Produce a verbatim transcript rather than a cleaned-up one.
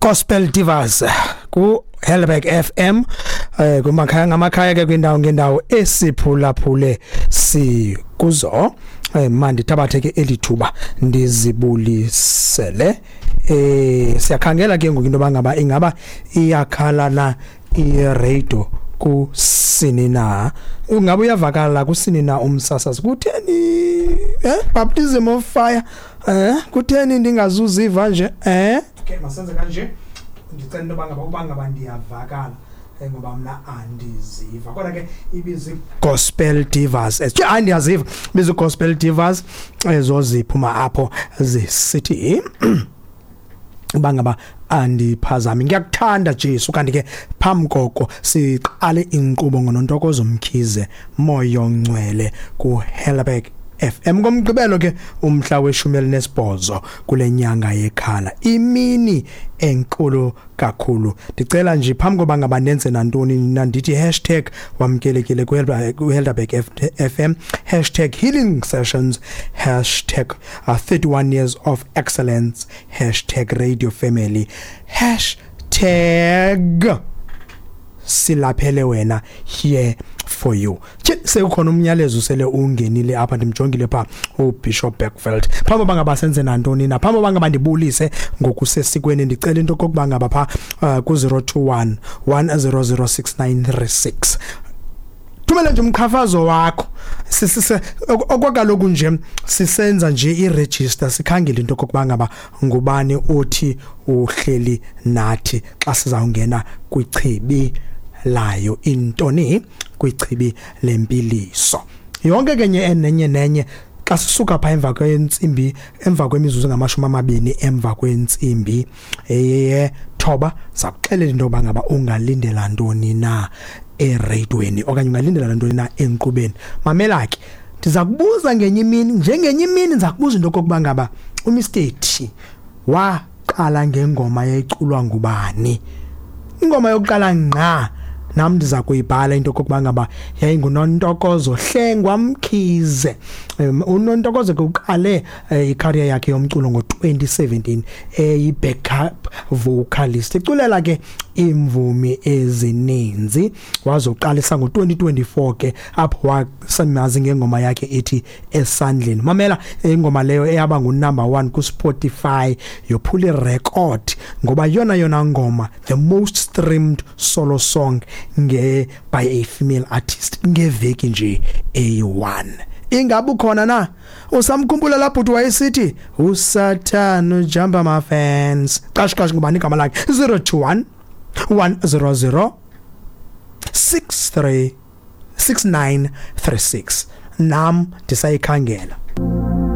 Gospel Divas ku Helderberg F M, eh kumakhaya ngamakhaya ke, kwindawo ngendawo esiphulaphule sikuzo. eh mandithabathe ke elithuba ndizibulisele. eh siyakhangela ke ngoku into bangaba ingaba iyakhala na i-radio kusini na, ungabe uyavakala kusini na umsasazi. Kutheni eh baptism of fire? eh kutheni ndingazuziva nje? eh okay masenze kanje. Ndicela into bangaba uba ngaba ndiyavakala, eh, ngoba mna andiziva, kodwa ke ibizi Gospel Divas. Eh hayi, ndiyaziva. Ibizi Gospel Divas ezo ziphuma apho zisithi bangaba andiphazami, "Ngiyakuthanda Jesu." Kanti ke phambi koko siqale inkqubo ngoNontokozo Mkhize, "Moyo Ngcwele", ku Helderberg F M ngomgqibelo ke, umhla weshumi elinesibhozo kule nyanga yekhala, imini enkulu kakhulu. Ndicela nje phambi koba ngaba nenze nantoni na, ndithi hashtag wamkelekile ku Helderberg F M, hashtag healing sessions, hashtag uh, thirty-one years of excellence, hashtag radio family, hashtag silaphele wena, here for you. Sekukhona umnyalezo sele ungenile apha, ndimjongile pha uBishop Beckfeld. Phambi bangaba senze nantoni na, phambi bangaba ndibulise ngokusesikweni, ndicela into kokuba ngaba pha uh, ku zero two one one zero zero six nine three six thumela nje umqhafazo wakho. Sisise okwakaloku nje sisenza nje iregister, sikhangele into kokuba ngaba ngubani othi uhleli nathi xa sizawungena kwichibi layo intoni, kwichibi lempiliso. Yonke kenye enenye nenye xa sisuka pha emva kwentsimbi, emva kwemizuzu ngamashumi amabini emva kwentsimbi eye thoba, sakuxelela into yoba ngaba ungalindela ntoni na ereyidweni okanye ungalindela ntoni na enkqubeni. Mamela ke, ndiza kubuza ngenye imini, njengenye imini ndiza kubuza into okokuba ngaba uMister T waqala ngengoma yayiculwa ngubani, ingoma yokuqala ngqa. Nam ndiza kuyibhala into okokuba ngaba yayinguNontokozo Hlengwa Mkhize. um, uNontokozo ke uqale eh, icareer yakhe yomculo ngo-twenty seventeen, eyi-backup vocalist, iculela ke imvumi ezininzi. Wazoqalisa ngo-twenty twenty-four ke, apho wasemazi ngengoma yakhe ethi "Esandleni". Mamela, ingoma leyo eyaba ngunumber one ku-Spotify, yophula irecord ngoba yona yona ngoma the most streamed solo song nge by a female artist ngeveki nje eyi one. Ingabe ukhona na usamkhumbula lapho uthi wayesithi uSathane ujumpa ama-fence? Qash qash, ngubani igama lakhe? zero two one one zero zero six three six nine three six. Nam ndisayikhangela.